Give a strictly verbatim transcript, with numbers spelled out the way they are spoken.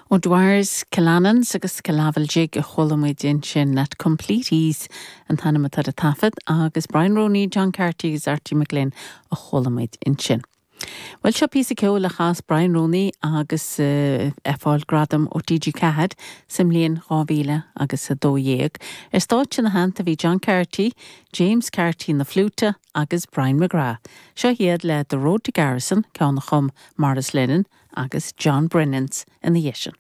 O'Dwyer's Killanans agus Killavil Jig a chuala muid ansin At Complete Ease an t-ainm atá ar an taifead agus Brian Roney, John Carty agus Archie McGlynn a chuala muid ansin. Well seo píosa ceoil a chas Brian Roney agus uh, ag fáil gradam ó TG Ceathair sa mbliain dhá mhíle agus a dó dhéag. Ar stáitse ina theannta bhí John Carty, James Carty na fliúta agus Brian McGrath. Seo iad le The Road to Garrison ceann a chum Maurice Lennon agus John Brennans ina dhiaidh sin.